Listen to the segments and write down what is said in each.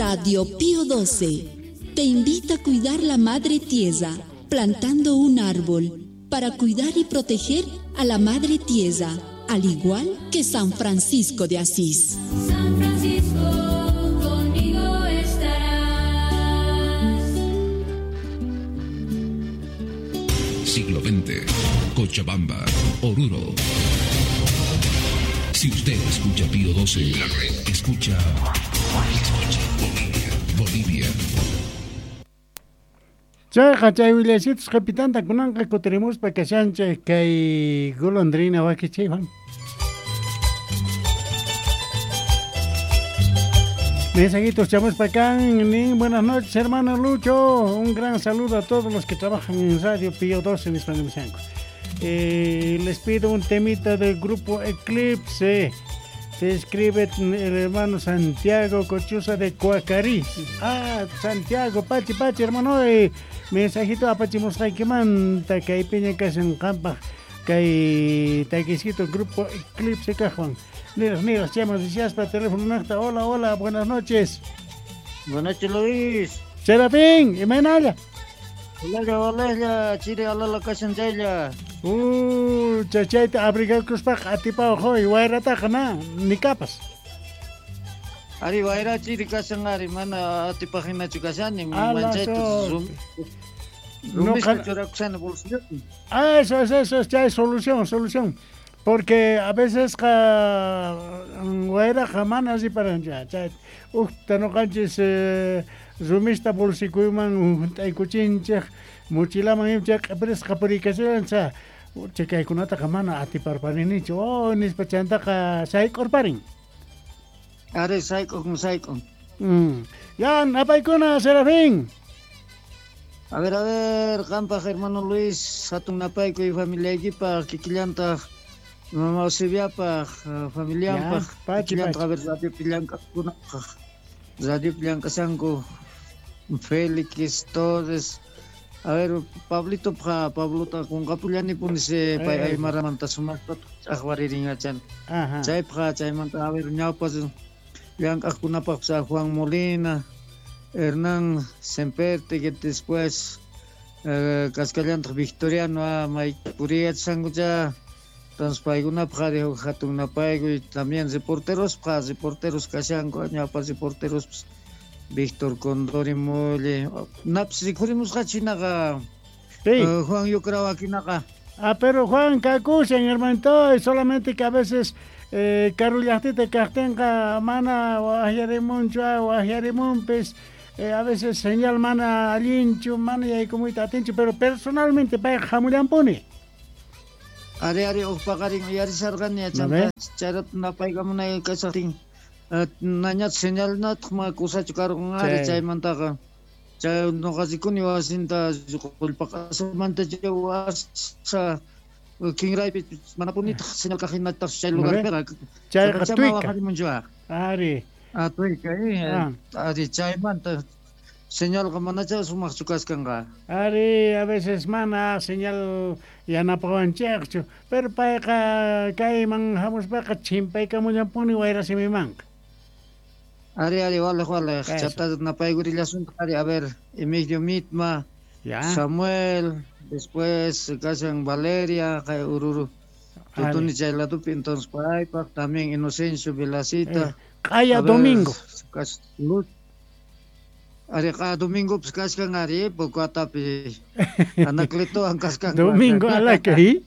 Radio Pío XII te invita a cuidar la madre tierra plantando un árbol para cuidar y proteger a la madre tierra, al igual que San Francisco de Asís. San Francisco, conmigo estarás. Siglo XX, Cochabamba, Oruro. Si usted escucha Pío 12, la red escucha. Escucha Bolivia. Bolivia. Chayqa chay willaysitus qhipitanta kunanqa kutirimuspa kashanchik kay golondrina wakichiywan. Mensajitos chamuspa kan, nin, buenas noches hermano Lucho, un gran saludo a todos los que trabajan en Radio Pío 12 nispa nimushanku. Les pido un temita del grupo Eclipse. Te escribe el hermano Santiago Cochuza de Coacarí. Ah, Santiago, pachi, pachi, hermano. Mensajito apachimusqaykimanta kaypiña kashan qampaq kay taquisito grupo Eclipse kajwan. Niraj, niraj, chayman rishaspa teléfono naqta. Hola, hola, buenas noches. Buenas noches, Luis. Serafín, imaynalla. Hola, hola, chiri alala kashan chaylla. Chayta abrigakuspaqa atipawaq hoy wayrataqa na, ni kapas. Ari wayra chiri kashan ari mana atipaq hinachu kashani, manchayta rumista churakushani bolsillopi. Ah, eso es, eso es, chay solución, solución. Porque a veces qa wayraqa mana riparanchu, chay ujta nuqanchis rumista bolsikuyman hunt'aykuchinchik, mochilaman ima chay q'ipirisqa puriykachillancha, chay kaykunataqa mana atiparparinichu, oh nispa chantaqa sayk'urparin. Ari sayk'un, sayk'un. Ya, napaykuna, Serafín. A ver, qampaq hermano Luis, hatun napaykuy familiaykipaq, kikillantaq mama Eusebiapaq, familianpaq, kikillantaq, a ver, radiopi llank'aqkunapaq, radiopi llank'ashanku, Félix, Torres, a ver, Pablito, Pablota qunqapullanipuni pay aymaramanta sumaqta ch'aqwaririnachan. Chaypaq, chaymanta, a ver, ñawpa llank'aqkunapaq, Juan Molina, Hernán Semperte, que después kasqallantaq Victoriano, may puriyachankucha. Entonces paykunapaq ari huk hatun napaykuy, también reporterospaq, reporteros kashanku, ñawpa reporteros Víctor Condori Molle, napis rikhurimusqachu hinaqa, Juan Yucrawakinaqa. Ah, pero Juan kakushan, hermanito, solamente que a veces karu llaqtita kaqtinqa mana waqyarimunchu, waqyarimunpis, a veces señal mana allinchu, mana yaykumuyta atinchu, pero personalmente payqa hamullanpuni. Ari ari huk paqarin uyarisharqani yachanta, chayrata napaykamunay kashaqtin, nañat señalnataq ma kusachu karqan ari chaymantaqa. Chay nuqa rikuni wasinta qullpaqasamanta chay wasa kinraypi manapunitaq señal kaq hinataq chay lugarpiqa. Chayqa tuika. Ari. Ah, tuika, ari chaymanta señalqa manacha sumaqchu kaskanqa. Ari, a veces mana señal yanapawanchikchu, pero payqa kayman hamuspaqa chimpaykamullanpuni wayrasimimanqa. Ari, ari, wale, wale, chata napaykurillasunta, ari, a ver, Emilio Mitma, Samuel, después kashan Valeria, kay Ururu, Tutuni chay ladupi, entonces paypaq, también Inocencio Velacita. Q'aya domingo. Ari, q'aya domingo pues kaskan ari, Pocoatapi, Anacletoan kaskan. Domingo alakay.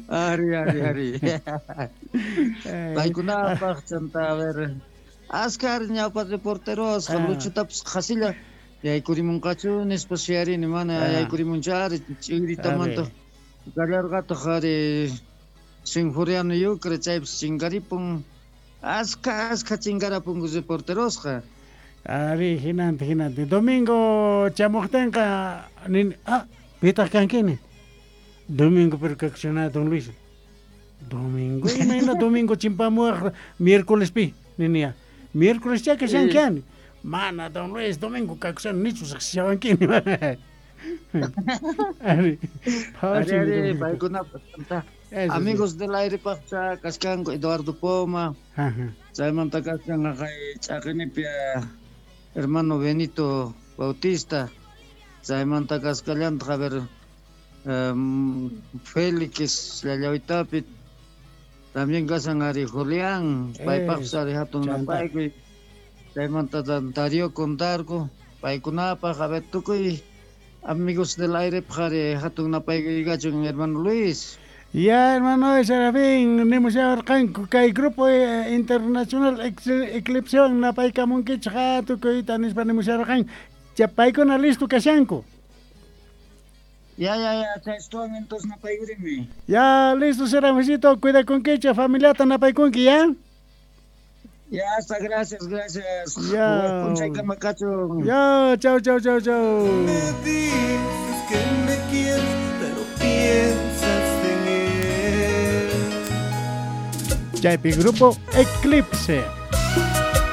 Ari, ari, ari. Paykunapaq, chanta, a ver, askar ñawpa reporteros, Luchutapas qhasilla yaykurimunqachu nispa suyarini, mana yaykurimunchu ari, ch'iritamanta kallarqataq ari Sinforiano Yucre, chaypas chinkaripun, askha, askha chinkarapunku reporterosqa. Ari, hinanti, hinanti. Domingo chamuqtinqa nini, ah, pitaq kankini. Domingo pero kakushana don Luis. Domingo, imayna domingo chimpamuwaq miércoles pi, ninia. Miércoles cha kashankiani. Mana don Luis, domingo kakushani nichu riqsishawankini. Ari, ari, paykunapaq chanta. Eso Amigos del aire paqcha kachkanku Eduardo Poma. Ajá. Chaymanta kachkan haqay ch'aqinipi hermano Benito Bautista. Chaymanta kaskallantaq a ver Félix Llallawitapi. También kashan ari Julián, paypaqpis ari hatun napaykuy. Chaymanta Darío Condarco, paykunapaq, a ver tukuy amigos del aire ari hatun napaykuy kachun hermano Luis. Ya, hermano Serafín, nimusharqanku kay grupo internacional Eclipsewan napaykamunkichik tukuyta nispa nimusharqan. Paykuna listo kashanku. Ya, ya, ya, chay estuan entonces napaykurimi. Ya, listo, Serafincito, cuidakunkichik, familiata napaykunki, ya. Ya, hasta gracias, gracias. Ya. P'unchaykama kachun. Ya, chau, chau, chau, chau. Me dices que me quieres, pero piensas en él. Chaypi grupo Eclipse.